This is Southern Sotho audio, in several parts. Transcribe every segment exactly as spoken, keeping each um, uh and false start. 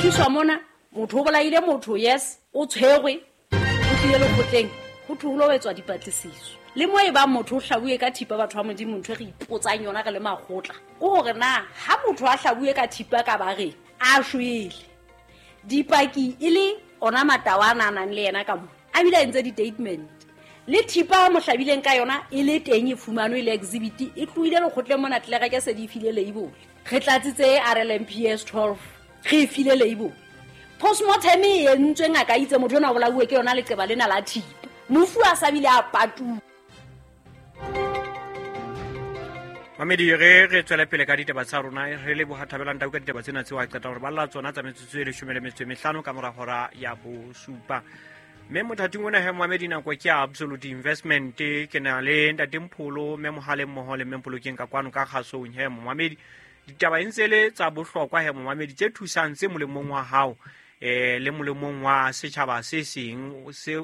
tliswa mona motho o bolaile motho, yes, o tshwerwe, o tlile lekgotleng, ho thwe ho lo etswa dipatlisiso. Le mo e bang motho o hlabuwe ka thipa, batho ba Modimo, ntho e re ipotsang yona re le makgotla ke hore na ha motho a hlabuwe ka thipa ka bareng a shwele, dipaki e le ona matawa a nang le yena ka mo, a bile a entse di-statement, le thipa a mo hlabileng ka yona e le teng, e fumanwe le exhibit, e tlohile lekgotleng mona, tlelereke se di file label, re tlatsitse R L M P S twelve, re e file label. Postmortem e entswe, ngaka itse motho ona o bolauwe ke yona leqeba lena la thipa, mofu a sa bile a patuwa. Mamedi, re re tswele pele ka ditaba tsa rona, re leboha Thabelang Tau ka ditaba tsena tseo a qeta hore balla tsona tsa metsotso e leshome le metso e mehlano ka mora hora ya bosupa. Mme mothating ona he Mamedi, nako ke ya Absolute Investment, ke na le Ntate Mpholo, mme Mohale mmoho le mme Mpolokeng ka kwano ka kgasong. He Mamedi, ditaba e ntse le tsa bohlokwa he Mamedi, tse thusang, tse molemong wa hao eh le molemong wa setjhaba se seng. Se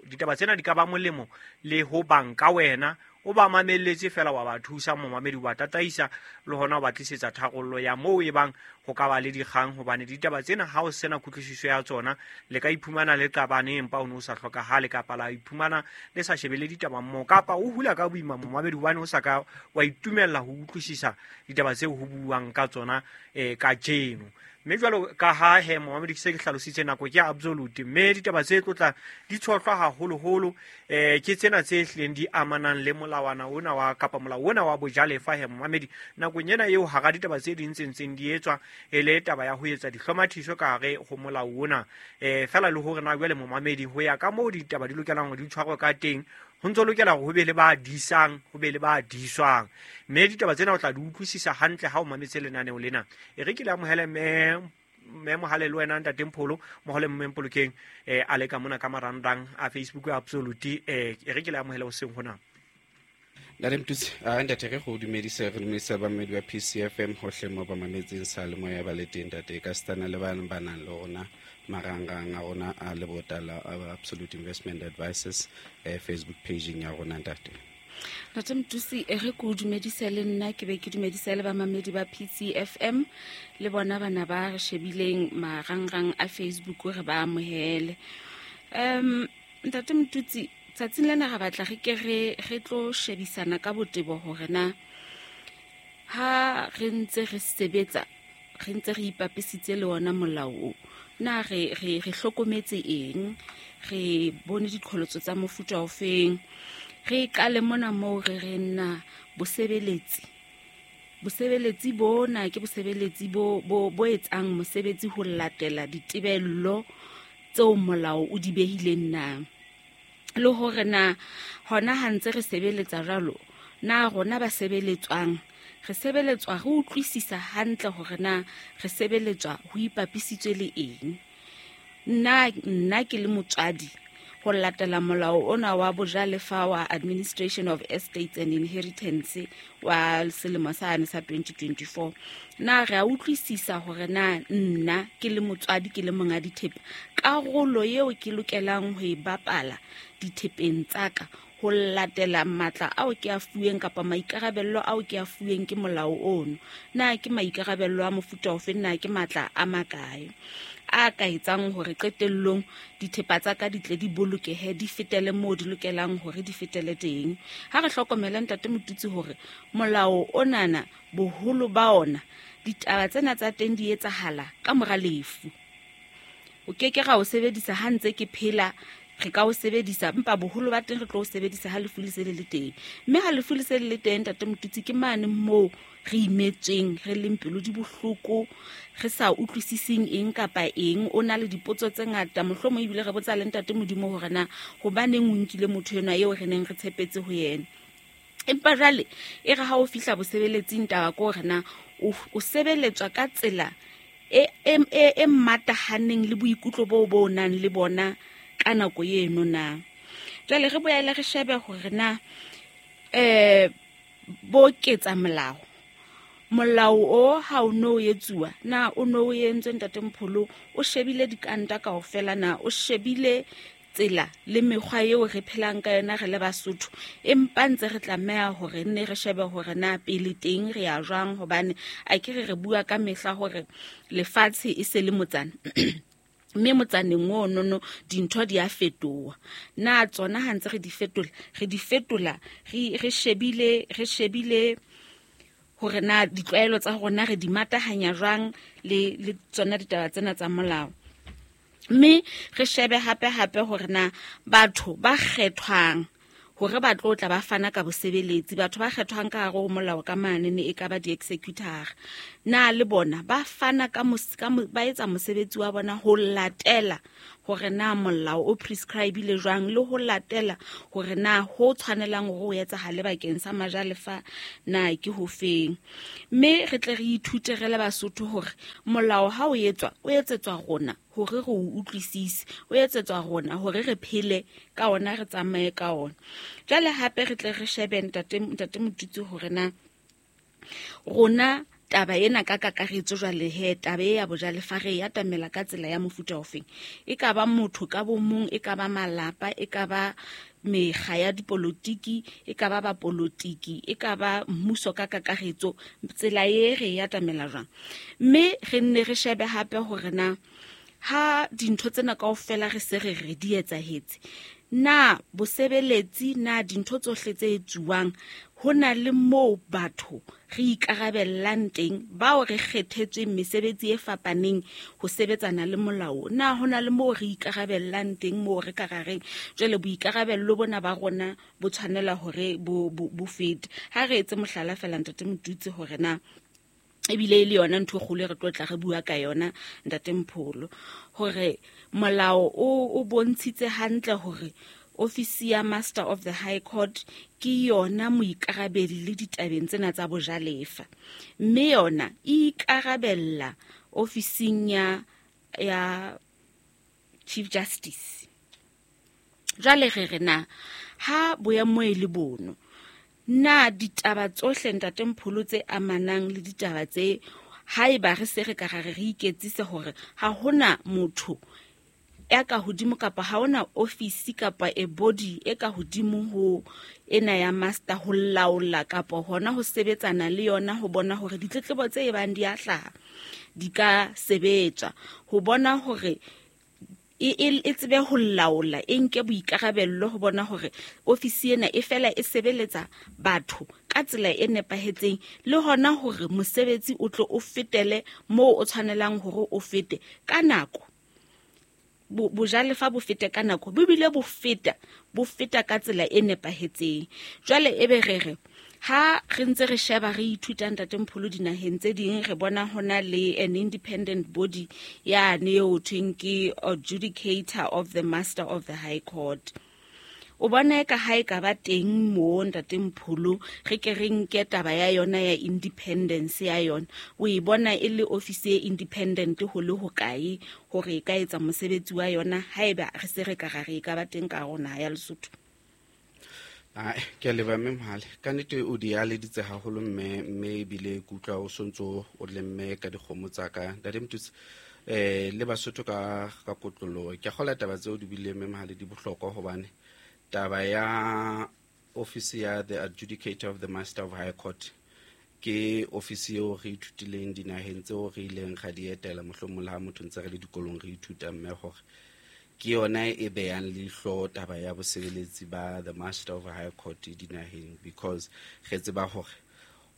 ditaba tsena di ka ba molemo le ho banka wena, o ba mamelletse fela wa ba thusa momamedi, wa tataisa le hona o ba tlisetsa tharollo ya moo e bang ho ka ba le dikgang, hobane ditaba tsena ha o sena kutlwisiso ya tsona le ka iphumana le qabane empa o ne o sa hlokahale, kapa la iphumana le sa shebele ditaba mmoho, kapa o hula ka boima momamedi hobane o sa ka wa itumella ho utlwisisa ditaba tseo ho buuwang ka tsona eh kajeno. Mme jwalo ka ha he momamedi ke se ke hlalositse, nako ke Absolute, mme ditaba tse tlotla di tshohlwa haholoholo eh ke tsena tse hlileng di amanang le molawana ona wa kapa molao ona wa bojalefa. He momamedi, nakong ena eo hara ditaba tse ding tse ntseng di etswa e le taba ya ho etsa dihlomathiso ka hare ho molao ona, eh fela le hore na jwale momamedi ho ya ka moo ditaba di lokelang hore di tshwarwe ka teng, ho ntso lokela hore ho be le ba disang, ho be le ba diswang. Mme ditaba tsena o tla di utlwisisa hantle ha o mametse lenaneo lena. E re ke le amohele mme mme Mohale le wena Ntate Mpholo, Mohale mme Mpolokeng eh a le ka mona ka marangrang a Facebook Absolute. Eh e re ke le amohele hoseng hona. Ntate Mtutsi, a ntate re go dumedise, re dumedisa bamedi ba P C F M hohle mo ba mametseng sa le moya ba le teng ntate, ka stana le bana ba nang le rona marangrang a rona a lebota la Absolute Investment Advisors eh, Facebook page ya rona ntate. Ntate Mtutsi, e re ko dumedise le nna, ke be ke dumedise le bamamedi ba P C F M le bona bana ba re shebileng marangrang a Facebook, re ba amohele. Um Ntate Mtutsi, tsatsing lena re batla re ke re re tlo shebisana ka botebo hore na ha re ntse re sebetsa, re ntse re ipapisitse le ona molao o, na re re re hlokometse eng, re bone diqholotso tsa mofuta ofeng. Re qale mona moo re re nna bosebeletsi, bosebeletsi bona ke bosebeletsi bo bo bo etsang mosebetsi ho latela ditebello tseo molao o di behileng na, le hore na hona ha ntse re sebeletsa jwalo, na rona ba sebeletswang re sebeletswa re utlwisisa hantle hore na re sebeletswa ho ipapisitswe le eng. Nna nna ke le motswadi, ho latela molao ona wa bojalefa wa Administration of Estates and Inheritance wa selemo sane sa twenty twenty-four, na re a utlwisisa hore na nna ke le motswadi, ke le monga dithepa, karolo eo ke lokelang ho e bapala dithepeng tsa ka ho latela matla ao ke a fuweng kapa maikarabello ao ke a fuweng ke molao ono, na ke maikarabello a mofuta ofe, na ke matla a makae a ka etsang hore qetellong dithepa tsa ka di tle di bolokehe, di fetele moo di lokelang hore di fetele teng. Ha re hlokomela Ntate Motutsi hore molao onana boholo ba ona ditaba tsena tsa teng di etsahala ka mora lefu. O ke ke ra o sebedisa ha ntse ke phela, re ka o sebedisa, empa boholo ba teng re tlo o sebedisa ha lefu le se le le teng. Mme ha lefu le se le le teng Ntate Motutsi, ke mane moo re imetsweng, re leng pelo di bohloko, re sa utlwisising eng kapa eng, o na le dipotso tse ngata, mohlomong ebile re botsa le Ntate Modimo hore na hobaneng o nkile motho enwa eo re neng re tshepetse ho yena. Empa jwale e re ha o fihla bosebeletsing, taba ke hore na o sebeletswa ka tsela e e e matahaneng le boikutlo bo bo nang le bona ka nako eno na. Jwale re boele re shebe hore na eh bo ketsa molao, molao o ha o no etsuwa na o no entswe Ntate Mpholo, o shebile dikanta kaofela na, o shebile tsela le mekgwa eo re phelang ka yona re le Basotho, empa ntse re tlameha hore nne re shebe hore na pele teng re ya jwang, hobane a ke re re bua ka mehla hore lefatshe e se le motsana. Mme motsaneng o nono dintho di a fetoha. Na tsona ha ntse re di fetola, re di fetola re re shebile re shebile hore na ditlwaelo tsa rona re di matahanya jwang le le tsona ditaba tsena tsa molao. Mme re shebe hape hape hore na batho ba kgethwang hore ba tlo tla ba fana ka bosebeletsi, batho ba kgethwang ka hare ho molao ka mane ne e ka ba di-executor, na le bona ba fana ka ka ba etsa mosebetsi wa bona ho latela hore na molao o prescribe-ile jwang, le ho latela hore na ho tshwanelang hore o etsahale bakeng sa majalefa na ke ho feng. Mme re tle re ithute re le Basotho hore molao ha o etswa, o etsetswa rona hore re o utlwisise, o etsetswa rona hore re phele ka ona, re tsamaye ka ona. Jwale hape re tle re shebe ntate ntate Motutsi hore na rona taba ena ka kakaretso jwale he taba e ya bojalefa re ya atamela ka tsela ya mofuta ofeng. E ka ba motho ka bo mong, e ka ba malapa, e ka ba mekga ya dipolotiki, e ka ba bapolotiki, e ka ba mmuso ka kakaretso, tsela e re ya atamela jwang. Mme re nne re shebe hape hore na ha dintho tsena kaofela re se re re di etsahetse, na bosebeletsi na dintho tsohle tse etsuwang ho na le moo batho re ikarabellang teng, bao re kgethetsweng mesebetsi e fapaneng ho sebetsana le molao, na ho na le moo re ikarabellang teng moo re ka ra reng jwale boikarabello bona ba rona bo tshwanela hore bo bo fete. Ha re etse mohlala fela ntate Motutsi hore na ebile e le yona ntho e kgolo re tlo tla re bua ka yona ntate Mpholo, hore molao o o bontshitse hantle hore ofisi ya Master of the High Court ke yona moikarabeli le ditabeng tsena tsa bojalefa, mme yona e ikarabella ofising ya ya Chief Justice. Jwale re re na ha boemo e le bono, na ditaba tsohle ntate Mpholo tse amanang le ditaba tse, haeba re se re ka re re iketsise hore ha hona motho ya ka hodimo kapa ha hona ofisi kapa e body e ka hodimo ho ena ya master ho laola kapa hona ho sebetsana le yona ho bona hore ditletlebo tse ebang di a hlaha di ka sebetswa, ho bona hore e e tsebe ho laola, e nke boikarabello ho bona hore ofisi ena e fela e sebeletsa batho ka tsela e nepahetseng, le hona hore mosebetsi o tlo o fetele moo o tshwanelang hore o fete ka nako, bojalefa bo fete ka nako, bo bile bo feta bo feta ka tsela e nepahetseng. Jwale ebe re re ha re ntse re sheba re ithuta ntate Mpholo dinaheng tse ding, re bona hona le an independent body yane eo thweng ke adjudicator of the Master of the High Court. O bona eka ha e ka ba teng mo ntate Mpholo, re ke re nke taba ya yona ya independence ya yona, o e bona e le office e independent ho le hokae hore e ka etsa mosebetsi wa yona haeba re se re ka ra re e ka ba teng ka rona ya Lesotho? Ah, ke a leboha mme Mohale. Ka nnete o di aleditse haholo mme mme ebile ke utlwa o sontso o le mme ka dikgomo tsa ka. Ntate Motutsi, eh le Basotho ka ka kotloloho. Ke a kgolwa taba tseo di buileng mme Mohale di bohlokwa hobane taba ya office ya the adjudicator of the Master of High Court ke office eo re ithutileng dinaheng tseo re ileng ra di etela, mohlomong le ha motho ntse re le dikolong re ithuta mme hore ke yona e behang leihlo taba ya bosebeletsi ba the Master of High Court dinaheng, because re tseba hore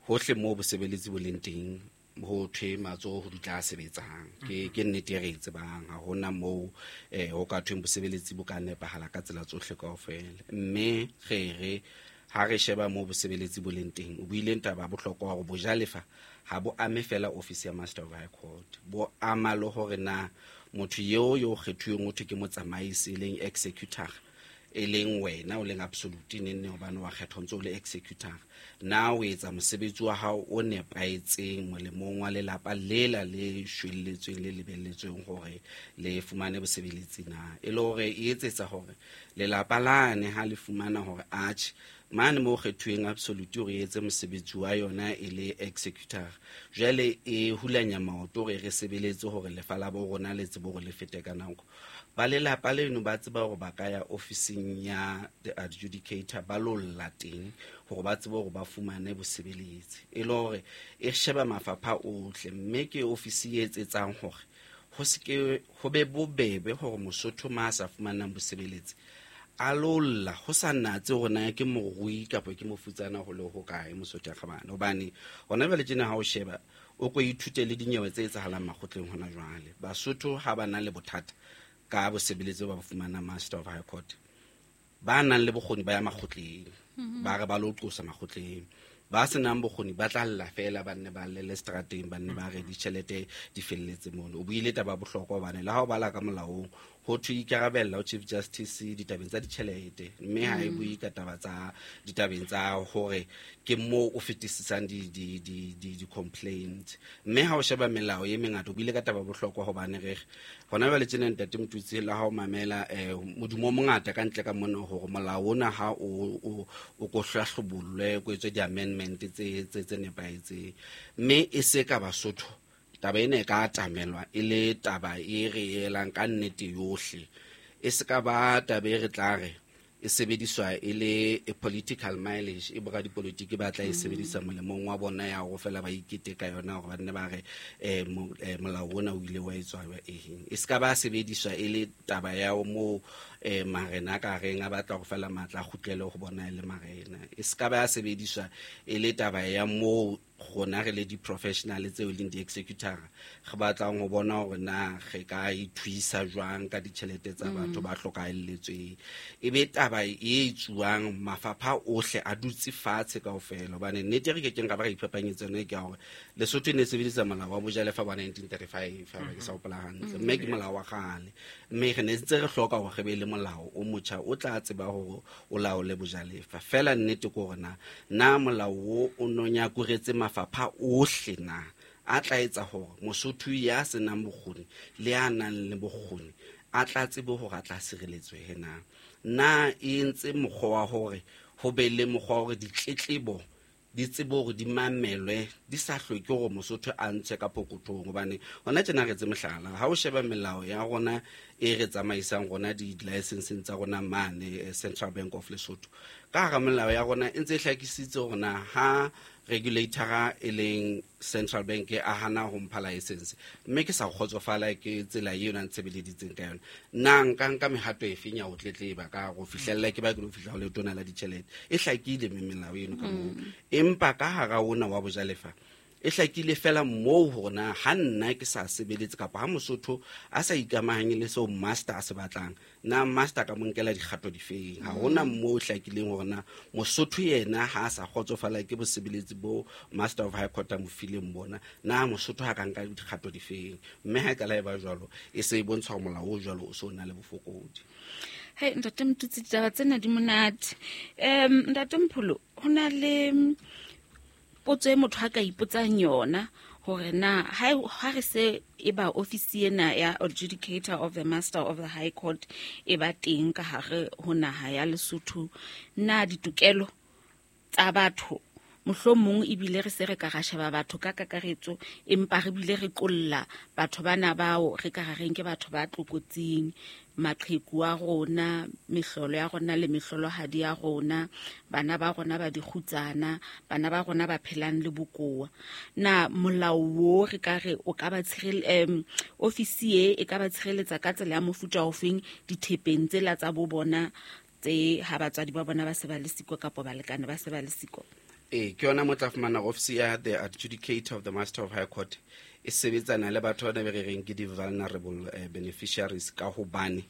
hohle moo bosebeletsi bo leng teng ho thwe matsoho ho dutla a sebetsang. Ke ke nnete e re e tsebang, ha hona moo eh ho ka thweng bosebeletsi bo ka nepahala ka tsela tsohle kaofela. Mme re re ha re sheba moo bosebeletsi bo leng teng, o buileng taba ya bohlokwa hore bojalefa ha bo ame fela office ya Master of High Court, bo ama le hore na motho eo yo kgethuweng ho thwe ke motsamaisi e leng executor, e leng wena o leng absolute nenne hobane wa kgethwa ntse o le executor, na o etsa mosebetsi wa hao o nepahetseng molemong wa lelapa lela le shwelletsweng le lebelletsweng hore le fumane bosebeletsi na, e le hore e etsetsa hore lelapa lane ha le fumana hore atjhe Mane mo kgethuweng absolute hore e etse mosebetsi wa yona e le executor, jwale e hulanya maoto hore re sebeletse hore lefa la bo rona le tsebe hore le fete ka nako. Ba lelapa leno ba tseba hore ba ka ya ofising ya the adjudicator ba lo lla teng hore ba tsebe hore ba fumane bosebeletsi. E le hore e sheba mafapha ohle, mme ke ofisi e etsetsang hore ho se ke ho be bobebe hore Mosotho ma sa fumanang bosebeletsi a lo lla ho sa natse hore na ke morui kapa ke mofutsana ho le ho kae Mosotho ya kgabane. Hobane hona jwale tjena ha o sheba o ko ithute le dinyewe tse etsahalang makgotleng hona jwale. Basotho ha ba na le bothata ka bosebeletsi ba fumana Master of High Court, ba nang le bokgoni ba ya makgotleng, ba re ba lo qosa makgotleng. Ba senang bokgoni ba tla lla fela, ba nne ba llele strateng, ba nne ba re ditjhelete di felletse mono. O buile taba ya bohlokwa hobane le ha o bala ka molaong ho thwe ikarabella ho Chief Justice ditabeng tsa ditjhelete, mme ha e bue ka taba tsa ditabeng tsa hore ke moo o fetisisang di, di, di, di, di-complaint. Mme ha o sheba melao e mengata, o buile ka taba ya bohlokwa hobane re hona jwale tjena ntate Motutsi le ha o mamela eh, modumo o mongata ka ntle ka mona hore molao ona ha o, o, o ko hlahlobollwe, ko etswe di-amendment tse, tse, tse nepahetseng. Mme e se ka Basotho taba ena e ka atamelwa e le taba e re elang ka nnete yohle, e se ka ba taba e re tla re e sebediswa e le a political mileage e boradipolotiki ba tla e sebedisa molemong wa bona ya hore fela ba ikete ka yona hore ba nne ba re eh, eh, molao ona o ile wa etswa eng. E se ka ba sebediswa e le taba ya moo eh, marena ka reng a batla ho fela matla a kgutlele ho bona e le marena. E se ka ba sebediswa e le taba ya moo rona re le di-professional tseo e leng di-executor re batlang ho bona hore na re ka ithuisa jwang ka ditjhelete tsa batho ba hlokahalletsweng. E be taba e etsuwang mafapha ohle a dutse fatshe kaofela, hobane nnete re kekeng ra ba ra iphapanyetsa yona ke ya hore Lesotho e ne e sebedisa molao wa bojalefa wa nineteen thirty-five, ha ke sa hopola hantle, mme ke molao wa kgale, mme re ne ntse re hloka hore re be le molao o motjha o tla tseba hore o laole bojalefa. Fela nnete ke hore na na molao o o no nyakuretse mafapha ohle na a tla etsa hore Mosotho ya senang bokgoni le ya nang le bokgoni a tla tsebe hore a tla sireletswe na. Na e entse mokgwa wa hore ho be le mokgwa wa hore ditletlebo di tsebe hore di mamelwe, di sa hloke hore Mosotho a ntshe ka pokothong. Hobane hona tjena re tse mohlala, ha o sheba melao ya rona e re tsamaisang rona di-licenseng tsa rona mane Central Bank of Lesotho, ka hara melao ya rona e ntse e hlakisitse hore na ha regulator e leng Central Bank a hana ho mpha license mme ke sa kgotsofala ke tsela eo na ntshebeleditseng ka yona, nna nka nka mehato e feng ya ho tletleba ka ho fihlella ke ba ke lo fihla ho letona la ditjhelete. E hlakile mme melao eno ka moo, empa ka hara ona wa bojalefa e hlakile fela moo hore na ha nna ke sa sebeletse kapa ha Mosotho a sa ikamahanye le seo master a se batlang, na master ka mo nkela dikgato difeng. Ha hona moo hlakileng hore na Mosotho yena ha a sa kgotsofala ke bosebeletsi bo Master of High Court a mo fileng bona, na Mosotho ha ka nka dikgato difeng. Mme ha e ka la e ba jwalo, e se e bontsha hore molao o jwalo o so na le bofokodi. Hei ntate Motutsi, ditaba tsena di monate. Um ntate Mpholo, ho na le potso e motho a ka ipotsang yona hore na ha ha re se e ba ofisi ena ya adjudicator of the Master of the High Court e ba teng ka hare ho naha ya Lesotho, na ditokelo tsa batho mohlomong ebile re se re ka ra sheba batho ka kakaretso, empa re bile re qolla batho bana bao re ka reng ke batho ba tlokotsing, maqheku a rona, mehlolo ya rona le mehlolohadi ya rona, bana ba rona ba dikgutsana, bana ba rona ba phelang le bokowa. Na molao o re ka re o ka ba tshirel em ofisi e e ka ba tshireletsa ka tsela ya mofuta ofeng dithepeng tsela tsa bo bona tse ha batswadi ba bona ba se ba le siko kapa balekane ba se ba le siko? E ke yona mo tla fumana ofisi ya the adjudicator of the Master of High Court e sebetsana le batho ba re reng ke di-vulnerable eh, beneficiaries, ka hobane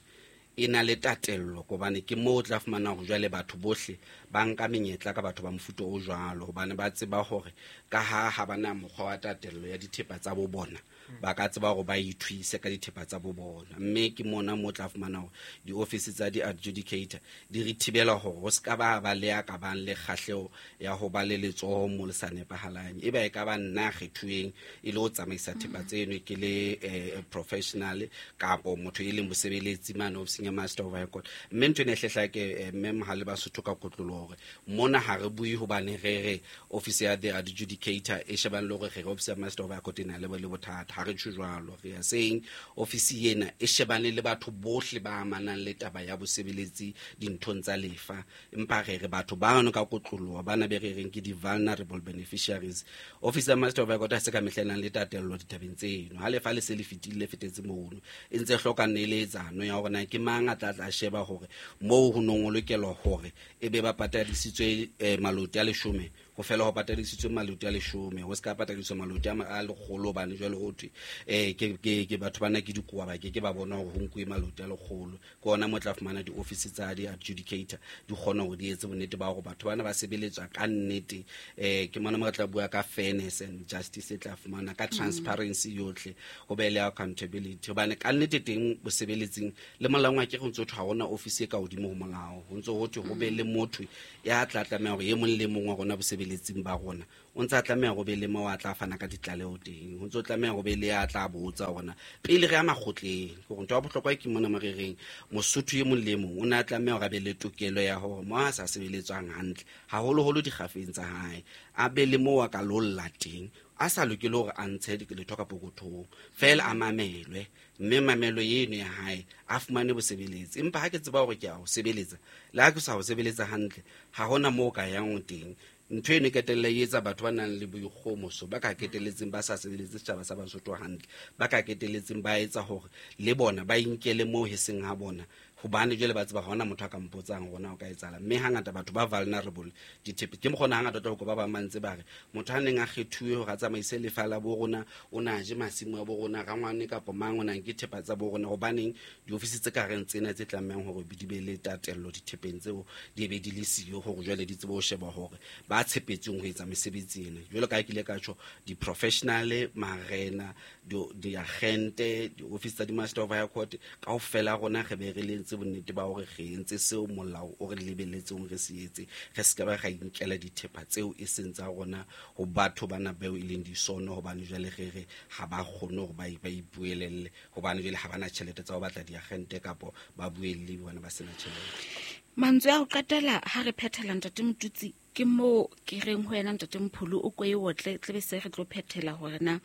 e na le tatello, hobane ke moo o tla fumana hore jwale batho bohle ba nka menyetla ka batho ba mofuta o jwalo, hobane ba tseba hore ka ha ha bana mokgwa wa tatello ya dithepa tsa bo bona, ba ka tseba hore ba ithuise ka dithepa tsa bo bona. Mme ke mona mo tla fumana hore di-office tsa di-adjudicator di re thibela hore ho ska ba ba le ya ka bang le kgahleho ya ho ba le letsoho mo le sa nepahalang. E ba e ka ba nna kgethuweng e le ho tsamaisa thepa tseno ke le eh, professional kapo motho e leng mosebeletsi mane ofising ofising ya Master of High Court. Mme ntho ena e hlehla ke mme Mohale ba Sotho ka kotlolo hore mona ha re bue hobane re re office ya the adjudicator e shebang le hore re re office ya Master of High Court e na le le bothata. Ha re tjho jwalo, re are saying office ena e shebane le batho bohle ba amanang le taba ya bosebeletsi dinthong tsa lefa, empa re re batho bano ka kotloloha bana be re reng ke di-vulnerable beneficiaries. Office ya Master of High Court ha se ka mehla e nang le tatello ditabeng tseno. Ha lefa le se le fetile, le fetetse mono, e ntse hloka neletsano ya hore na ke mang a tla tla sheba hore moo ho nong ho lokelwa hore e be ba patadisitswe eh, maloti a leshome, ho fela ho patadisitswe maloti a leshome, ho se ka patadiswa maloti a ma-, a lekgolo, hobane jwale ho thwe, eh, ke, ke, ke batho bana ke dikoa, ba ke ke ba bona hore ho nkuwe maloti a lekgolo. Ke ona mo tla fumana di-office tsa di-adjudicator di kgona hore di etse bonnete ba hore batho bana ba sebeletswa ka nnete. Eh, ke mona mo re tla bua ka fairness and justice e tla fumana ka transparency yohle, ho be le accountability, hobane ka nnete teng bosebeletsing le molaong wa ke ho ntso thwe ha hona office e ka hodimo ho molao, ho ntso ho thwe ho be le motho ya tla tlameha hore e mong le mong wa rona bosebeletsing ba rona o ntse a tlameha ho be le mo a tla fana ka ditlaleho teng, ho ntso tlameha ho be le ya tla botsa hore na pele re ya makgotleng. Ke hore ntho ya bohlokwa ke mona mo re reng Mosotho e mong le mong o ne a tlameha hore a be le tokelo ya hore mo a sa sebeletswang hantle, haholoholo dikgafeng tsa hae, a be le moo a ka lolla teng, a sa lokele hore a ntshe letho ka pokothong, feela a mamelwe, mme mamelo eno ya hae a fumane bosebeletsi. Empa ha ke tseba hore ke a ho sebeletsa, le ha ke sa ho sebeletsa hantle, ha hona moo ka yang teng. Ntho eno e qetella e etsa batho ba nang le boikgohomoso, ba ka qetelletseng ba sa sebeletse setjhaba sa Basotho hantle, ba ka qetelletseng ba etsa hore le bona ba inkele moo heseng ha bona, hobane jwale ba tseba ha hona motho a ka mpotsang hore na o ka etsahala. Mme hangata batho ba vulnerable dithepe, ke mokgona hangata o tla utlwa ba bang ba ntse ba re motho a neng a kgethuwe hore a tsamaise lefa la bo rona, o na je masimo a bo rona, rangwane kapa mang o na nke thepa tsa bo rona. Hobaneng diofisi tse ka reng tsena tse tlamehang hore di be le tatello dithepeng tseo di be di le siyo hore jwale di tsebe ho sheba hore ba tshepetsweng ho etsa mesebetsi ena. Jwalo ka ha ke ile ka tjho, di-professional, marena, di-agente, di-office tsa di-Master of High Court, kaofela rona re be re le entse bonnete ba hore re entse seo molao o re lebelletseng re se etse, re se ka ba ra inkela dithepa tseo e seng tsa rona ho batho bana bao e leng disono, hobane jwale re re ha ba kgone hore ba ba ipuelelle, hobane jwale ha bana tjhelete tsa ho batla diagente kapo ba buelle bona ba sena tjhelete. Mantswe a ho qetela ha re phethela Ntate Motutsi, ke moo ke reng ho yena Ntate Mpholo o ko e otle tlebe se re tlo phethela hore na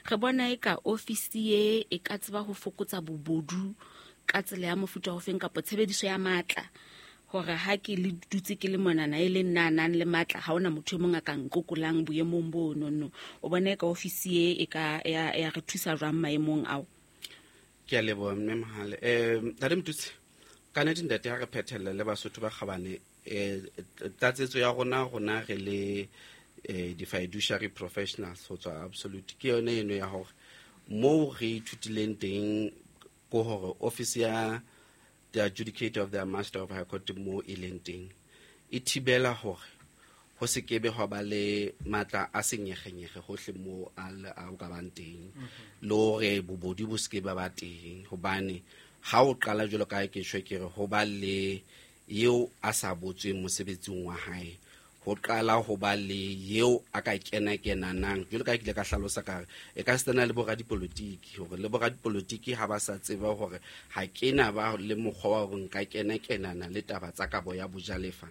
re bona e ka office e e ka tseba ho fokotsa bobodu ka tsela ya mofuta ofeng kapa tshebediso ya matla, hore ha ke le dutse ke le monana e le nna nang le matla, ha hona motho e mong a ka nkokolang boemong bo nono. O bona e ka office e e ka ya, ya re thusa jwang maemong ao? Ke a leboha mme Mohale. Eh, Ntate Motutsi, ka nnete ntate ha re phethelle le Basotho ba kgabane, eh, tlatsetso ya rona, rona re le, eh, di-fiduciary professionals ho tswa Absolute, ke yone eno ya hore moo re ithutileng teng ko hore office ya the adjudicator of the Master of High Court mo e leng teng e thibela hore ho se kebe hwa ba le matla a senyegenyege hohle mo a le, a o ka bang teng, le hore bobodi bo se ke ba ba teng, hobane ha o qala jwalo ka ha ke tjho ke re ho ba le eo a sa botsweng mosebetsing wa hae, ho qala ho ba le eo a ka kena kenanang jwalo ka ha ke ile ka hlalosa ka re e ka setsana le boradipolotiki, hore le boradipolotiki ha ba sa tseba hore ha kena ba le mokgwa wa hore nka kena kenana le taba tsa kabo ya bojalefa.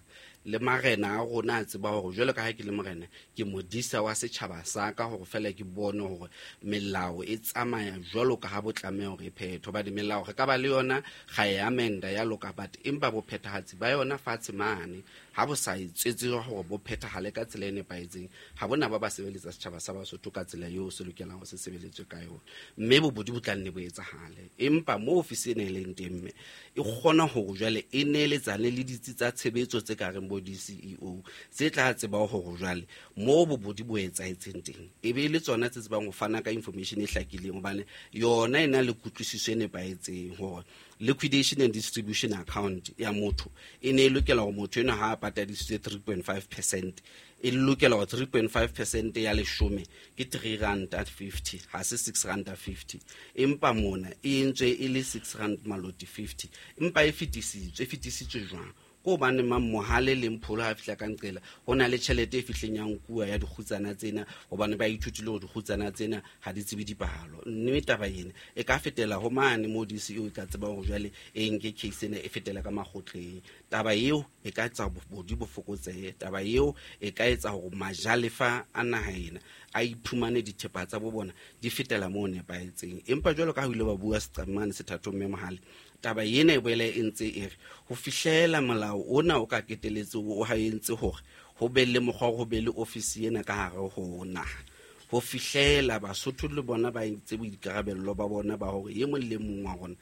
Le marena a rona a tseba hore jwalo ka ha ke le morena, ke modisa wa setjhaba sa ka, hore feela ke bone hore melao e tsamaya jwalo ka ha bo tlameha hore e phethwe. Hobane melao re ka ba le yona, ga e amenda ya loka, but empa bophethahatsi ba yona fatshe mane ha bo sa etsetse hore bo phethahale ka tsela e nepahetseng, ha bona ba ba sebeletsa setjhaba sa Basotho ka tsela eo se lokelang ho se sebeletswe ka yona, mme bobodi bo tla nne bo etsahale. Empa mo ofisi ena e leng teng, mme e kgona hore jwale e neeletsane le ditsi tsa tshebetso tse ka reng bo D C E O tse tla tseba hore jwale mo bobodi bo etsahetseng teng e be le tsona tse tsebang ho fana ka information e hlakileng, hobane yona e na le kutlwisiso e nepahetseng hore liquidation and distribution account ya motho e ne e lokela hore motho enwa ha a patadisitswe three point five percent, e lokela hore three point five percent ya leshome ke three rand fifty, ha se six rand fifty, empa mona e entswe e le six rand maloti fifty, empa e fetisitswe, e fetisitswe jwang? Ko hobane mang Mohale le Mpholo ha fihla ka nqela ho na le tjhelete e fihleng ya nkuwa ya dikgutsana tsena, hobane ba ithutile hore dikgutsana tsena ha di tsebe dipalo. Mme taba ena e ka fetela ho mane mo D C O e ka tseba hore jwale e nke case ena e fetela ka makgotleng. Taba eo e ka etsa bobodu bo fokotsehe, taba eo e ka etsa hore majalefa a naha ena a iphumane dithepa tsa bo bona di fetela moo nepahetseng. Empa jwalo ka ha o ile wa bua seqamane sethathong mme Mohale, taba ena e boela e ntse e re ho fihlela molao ona o ka keteletse o ha entse hore ho be le mokgwa ho be le ofisi ena ka hare ho naha, ho fihlela Basotho le bona ba entse boikarabello ba bona ba hore e mong le mong wa rona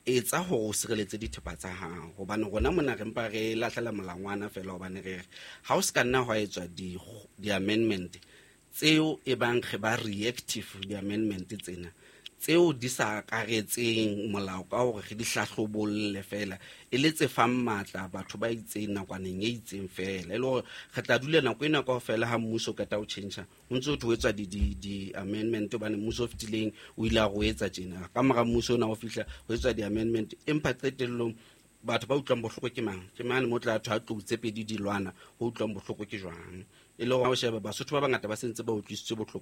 etsa hore o sireletse dithepa tsa hao. Hobane rona mona re mpa re lahlela molangwana feela, hobane re re ha o se ka nna hwa etswa di-amendment tseo e bang re ba reactive di-amendment tsena tseo di sa akaretseng molao ka hore re di hlahlobolle feela, e le tse fang matla batho ba itseng nakwaneng e itseng feela. E le hore re tla dula nako ena kaofela ha mmuso o qeta ho tjhentjha ho ntse ho thwe ho etswa di-amendment, hobane mmuso o fetileng o ile a re o etsa tjena, ka mora mmuso ona o fihla ho etswa di-amendment, empa qetellong batho ba utlwang bohloko ke mang? Ke mane mo tla thwa tlou tse pedi di lwana, ho utlwang bohloko ke jwang? E le hore ha o sheba Basotho ba bangata ba sentse ba utlwisitswe bohloko.